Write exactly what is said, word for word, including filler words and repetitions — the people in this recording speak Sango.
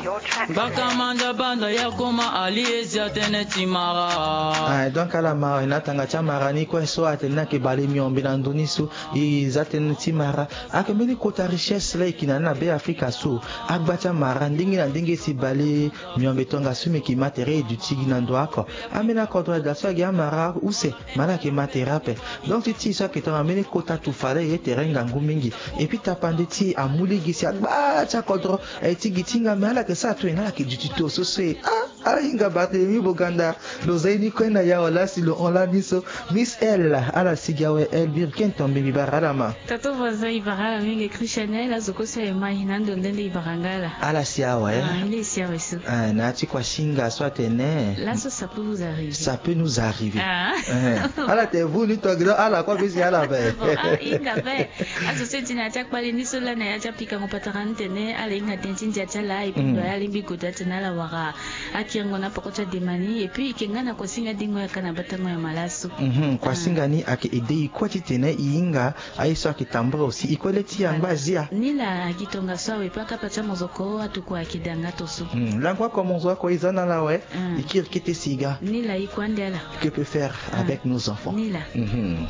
Bakamanda banda ya koma ali ezia tene ti mara. Ah, donc ala mara na tanga ti amara ni kue so atene na ke bale miombe na ndoni so. E za tënë ti mara ayeke mbeni kota richesse la e yeke na ni na Be Afrika so. Agba ti amara ndenge na ndenge si bale miombe tongaso mbi yeke ma tere e duti gi na ndo oko. Ambeni akodro aye daa so ayeke amara use. Ma ala yeke ma tere ape. Donc ti ti e so ayeke tongana mbeni kota tufa la e ye tere ngangu mingi. Et puis tapande ti e amu lege si agba ti akodro aye ti gi ti hinga me ala yeke sara tongana ala yeke duti to so so e ah. Ala hinga Barthélemy Boganda. Lo za ye ni kue na ya wala si lo hon lani so. Miss L ala sigi awe. Elvire ken tombe mbi bara ala ma. Tonton voisin e bara ala mingi. Christianel azo kue so aye ma e na ndo nde nde e bara nga ala. Ala si awe. Ah, nde e si awe so. Ah, na ya ti kua singa so atene. Laso ça peut vous arriver. Ça peut nous arriver. Ah. Eh, ala tene vu ni tongana ala kue bisi ala be. Bon, ah, hinga be. Azo so e ti na ya ti akpale ni so lani na ya ti apikango patara ni tene ala hinga tënë ti ndia ti ala e pe ndo ya alingbi goda tene ala wara. Akiringo na poko ti adema ni et puis e yeke nga na kuasinga dingo yaka na batango ya malaso. Mhm, kuasinga ni ayeke aidé e kue titene e hinga aye so ayeke tambula aussi e kue le ti yangba azia. Ni la agi tongaso awe pe akapa ti amozoko atokua ayeke da nga to so. Hmm, lango oko mozoko e za na ala awe. Hmm. E kiri kete si e ga. Ni la e kue ande ala. Que peut faire avec nos enfants? Ni la. Mhm.